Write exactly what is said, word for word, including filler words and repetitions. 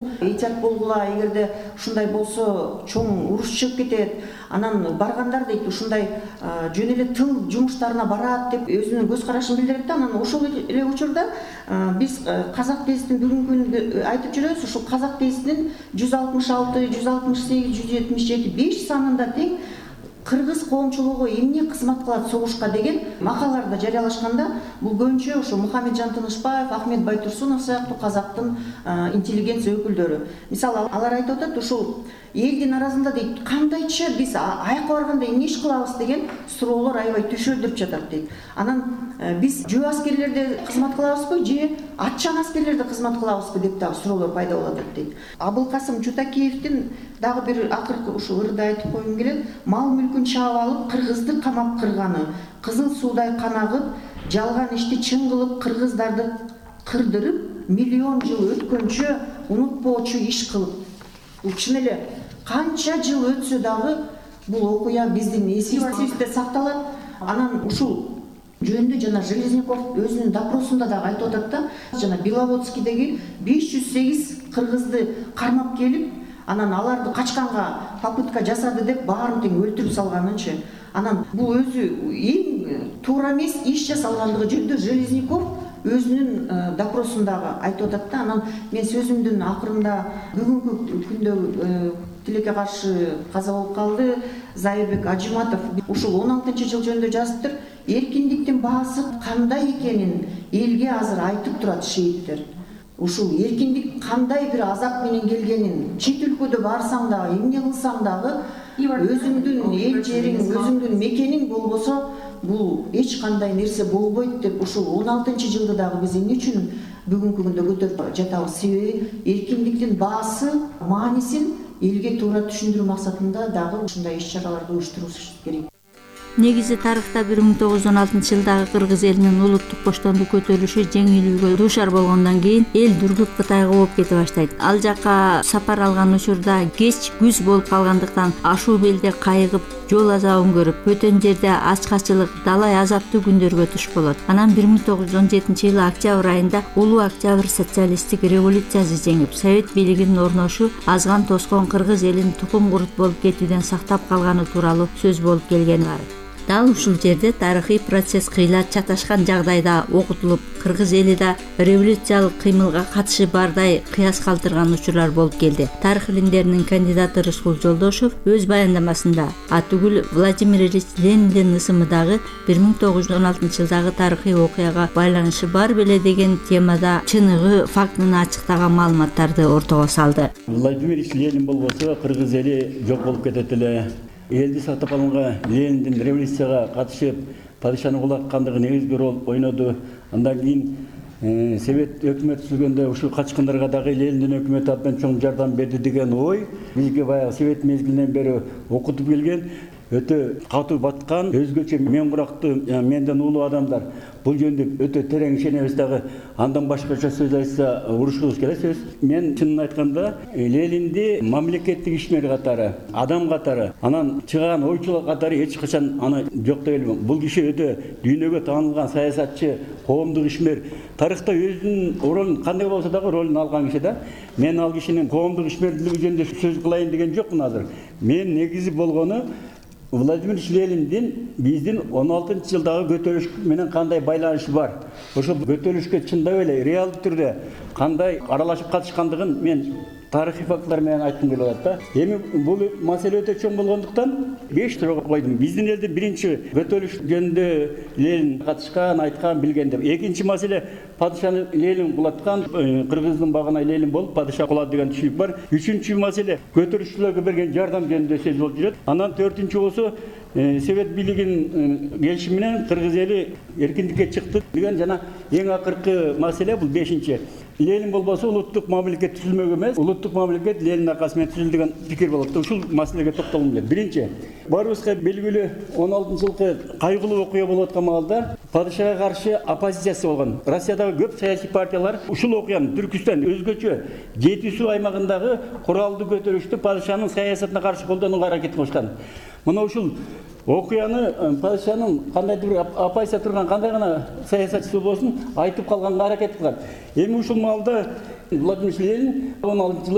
Эйтият болгула, эгерде ушундай болсо чоң уруш чыгып кетет, анан баргандар дейт ушундай жөн эле тыл жумуштарына барат деп өзүнүн көз карашын билдирет да. Анан ошол эле учурда биз казак ДСТин бүгүнкү күндө айтып жүрөбүз. Ушул казак ДСТин жүз алтымыш алты, жүз алтымыш сегиз, жүз жетимиш жети, беш санында тең кыргыз коомчулугу эмне кызмат кылат согушка деген макалаларды жарыялашканда, бул көбүнчө ошо Мухамеджан Тынышбаев, Ахмет Байтурсунов сыяктуу казактын интеллигенция өкүлдөрү. Мисалы, алар айтып атат, ушул элдин арасында дейт, кандайча биз аякка барганда эмне иш кылабыз деген суроолор аябай түшөлдүрүп жатат дейт. Анан биз жөө аскерлерде кызмат кылабызбы же атчан аскерлерде кызмат кылабызбы деп дагы суроолор пайда болуп атат дейт. Абылкасым Чутакеевдин дагы бир акыркы ушул ырды айтып койгум келет. Мал мүлкүн чаап алып кыргызды камап кырганы, кызыл суудай канагып, жалган ишти чын кылып кыргыздарды кырдырып, миллион жыл өткөнчө унутпоочу иш кылып. Бул чын эле канча жыл өтсө дагы бул окуя биздин эсибизде сакталат. Анан ушул жөнүндө жана Железников өзүнүн допросунда дагы айтып атат да, жана Беловодскийдеги беш жүз сегиз кыргызды кармап келип, анан аларды качканга попытка жасады деп баарын тең өлтүрүп салганынчы. Анан бул өзү эң туура эмес иш жасалгандыгы жөнүндө Железников өзүнүн допросундагы айтып атат да. Анан мен сөзүмдүн акырында бүгүнкү күндө тилекке каршы каза болуп калды Зайырбек Ажиматов ушул он алтынчы жыл жөнүндө жазыптыр. Эркиндиктин баасы кандай экенин элге азыр айтып турат шейиттер. Ушул эркиндик кандай бир азап менен келгенин, чет өлкөдө барсаң дагы, эмне кылсаң дагы, өзүңдүн эл жериң, өзүңдүн мекениң болбосо, бул эч кандай нерсе болбойт деп ушул он алтынчы жылды дагы биз эмне үчүн бүгүнкү күндө көтөрүп жатабыз? Себеби эркиндиктин баасы, маанисин элге туура түшүндүрүү максатында дагы ушундай иш-чараларды уюштуруш керек. Негизи тарыхта бир миң тогуз жүз он алтынчы жылдагы кыргыз элинин улуттук боштондук көтөрүлүшү жеңилүүгө дуушар болгондон кийин эл Дүргүт Кытайга ооп кете баштайт. Ал жака сапар алган учурда кеч күз болуп калгандыктан ашуу белде кайыгып, жол азабын көрүп, бөтөн жерде ачкачылык, далай азаптуу күндөргө туш болот. Анан бир миң тогуз жүз он жетинчи жылы октябрь айында улуу октябрь социалисттик революциясы жеңип, совет бийлигинин орношу азган тоскон кыргыз элин тукум курут болуп кетүүдөн сактап калганы тууралуу сөз болуп келгени бар. Дал ушул жерде тарыхый процесс кыйла чаташкан жагдайда окутулуп, кыргыз эли да революциялык кыймылга катышы бардай кыяс калтырган учурлар болуп келди. Тарых илимдеринин кандидаты Рыскул Жолдошов өз баяндамасында атүгүл Владимир Ильич Лениндин ысымы дагы бир миң тогуз жүз он алтынчы жылдагы тарыхый окуяга байланышы бар беле деген темада чыныгы фактын ачыктаган маалыматтарды ортого салды. Владимир Ильич Ленин болбосо кыргыз эли жок болуп кетет эле. Элди сактап калганга Лениндин революцияга катышып, падышаны кулаткандыгы негизги роль ойноду. Андан кийин Совет өкмөтү түзүлгөндө ушул качкындарга дагы Лениндин өкмөтү абдан чоң жардам берди деген ой бизге баягы Совет мезгилинен бери окутуп келген. Өтө катуу баткан, өзгөчө мен курактуу, менден улуу адамдар бул жөнүндө өтө терең ишенебиз дагы. Андан башкача сөз айтса урушубуз келет сөз. Мен чынын айтканда Ленинди мамлекеттик ишмер катары, адам катары, анан чыган ойчулар катары эч качан аны жоктой элмем. Бул киши өтө дүйнөгө таанылган саясатчы, коомдук ишмер. Тарыхта өзүнүн ролун кандай болсо дагы ролун алган киши да. Мен ал кишинин коомдук ишмердиги жөнүндө сөз кылайын деген жокмун азыр. Мен негизи болгону Владимир Ильич Лениндин биздин он алтынчы жылдагы көтөрүлүш менен кандай байланышы бар. Ошол көтөрүлүшкө чындап эле реалдуу түрдө кандай аралашып катышкандыгын мен тарыхый фактылар менен айткым келип атат да. Эми бул маселе өтө чоң болгондуктан беш суроо койдум. Биздин элдин биринчи көтөрүлүш жөнүндө Ленин катышкан, айткан, билген деп. Экинчи маселе падышаны Ленин кулаткан, кыргыздын багына Ленин болуп падыша кулады деген түшүнүк бар. Үчүнчү маселе көтөрүлүшчүлөргө берген жардам жөнүндө сөз болуп жүрөт. Анан төртүнчү болсо Совет бийлигинин келишими менен кыргыз эли эркиндикке чыкты деген жана эң акыркы маселе бул бешинчи. Ленин болбосо улуттук мамлекет түзүлмөк эмес, улуттук мамлекет Ленин аркасы менен түзүлдү деген пикир болот. Ушул маселеге токтолгум келет. Биринчи, баарыбызга белгилүү он алтынчы жылкы кайгылуу окуя болуп аткан маалда падышага каршы оппозициясы болгон. Россиядагы көп саясий партиялар ушул окуяны Түркүстан өзгөчө жети суу аймагындагы куралдуу көтөрүштү падышанын саясатына каршы колдонууга аракет кылышкан. Мына ушул окуяны падышанын кандайдыр бир оппозиция турган кандай гана саясатчысы болсун айтып калганга аракет кылган. Эми ушул маалда Владимир Ленин он алтынчы жылы